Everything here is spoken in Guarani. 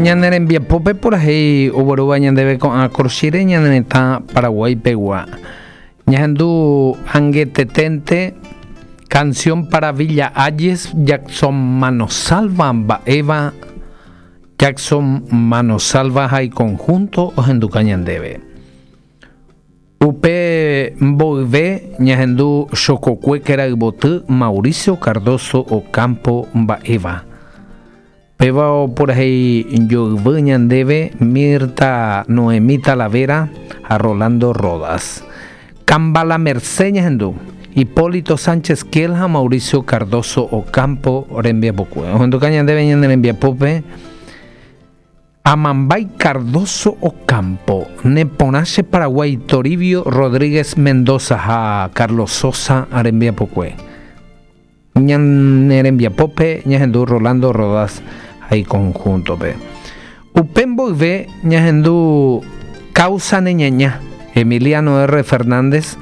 Ñane rembiapópe purahéi oguerúva ñandéve ko'ã korochire ñane retã Paraguái pegua. Ñahendu angeteténte Canción para Villa Hayes Jackson Manosalva mba'éva Jackson Manosalva ha iconjunto ohenduka ñandéve. Upe mboyve ñahendu Chokokue Kerayvoty Mauricio Cardozo Ocampo mba'éva. Péva opurahéi joyvy ñandéve Mirta Noemí Talavera ha Rolando Rodas. Kambala Merced ñahendu, Hipólito Sánchez Kiel ha Mauricio Cardozo Ocampo rembiapokue. Ohenduka ñandéve ñane rembiapópe Amambay Cardozo Ocampo, Neporã che Paraguay Toribio Rodríguez Mendoza ha Carlos Sosa rembiapokue. Ñane rembiapópe ñahendu Rolando Rodas ha iconjunto-pe. Upe mboyve ñahendu Causa ne ñaña, Emiliano R. Fernández.